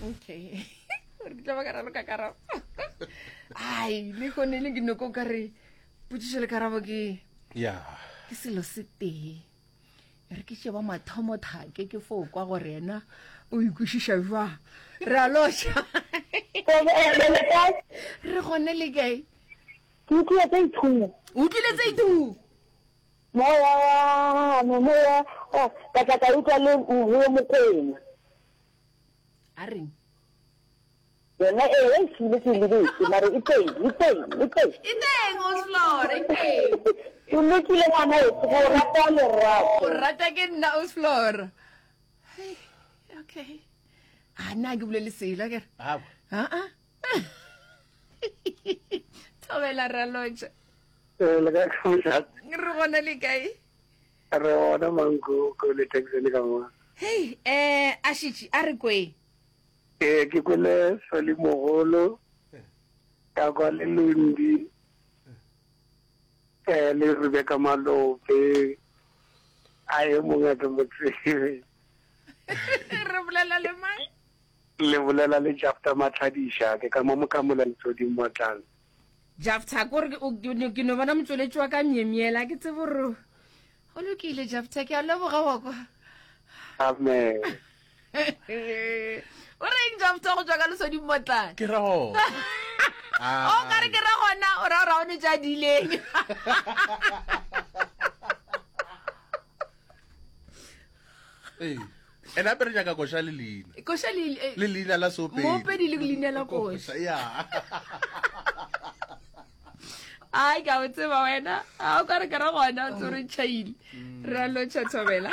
Okay. Gore ke tla ba ka raloka karabo. Ai, le gone le ke noko ka re potšišo le karabo ke ya ke selo se tee. Re ke tše ba mathomo thake ke fo kwa gore yena o ikwešiša jwang. Re a lotšha. Re gone le kae? Ke utlwile tse ithumo. O utlwile tse ithumo? Moya wa me, moya wa ka tla ka utlwa le Mvuyo Mokwena. A reng? Yona ee, e šile ke e lebetse, mare e teng, e teng, e teng. E teng, Osflora, e teng. O lokile ngwana weso, go rata lerato. O rata ke nna Osflora. Hey, okay. A nna ke bolele selo akere? Awa. Aa. Thobela ralotša. Eh, le kae ka mošate? Re gona le kae? Re gona mankoko le Texan ka mo. Hei, eh, a šitše, a re kweng. Eh, ke kwele Soli Mogolo, ka kwa le Lundi, eh, le Rebecca Malope, a e mongwe a ke mo tsebe. Re bolela le mang? Le bolela le Jafta Matlhadiša, ke ka mo Mokamola Letsoding Motlana. Jafta, ko re ke no bona motšweletši wa ka myemyela, ke tsebe gore go lokile Jafta, ke a leboga wa kwa. Amen. O reng Jafta go tšwa ka Lesoding Motlana? Ke ra gona. O ka re ke ra gona, o ra gore ga o ne tša dileng. Ee. Ene gape re nyaka koša le leina. Koša le eh, le leina la seopedi. Moopedi le leina la koša. Ya. Ai ka o tseba wena. A o ka re ke ra gona o tsore tšhaile. Re a lotšha thobela.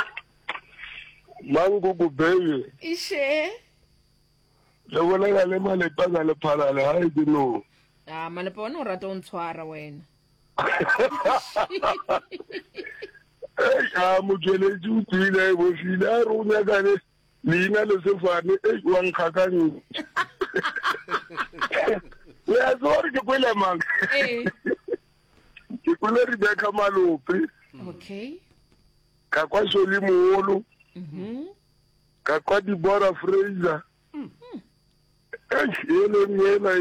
Mankoko baby. Ishe. Le bolela le malepa ka lephalale ga e ke no. A malepa wena o rata o ntshwara wena. Ei, a motšweletši o tswile a e bofile a re o nyaka le leina le sefane ei wa nkgakantšha le a tseba gore ke kwele mang Ee. ke kwele rebecca malope Okay. ka kwa soli mogolo Mhm. ka kwa dibora fraser eish ele nngwe ela.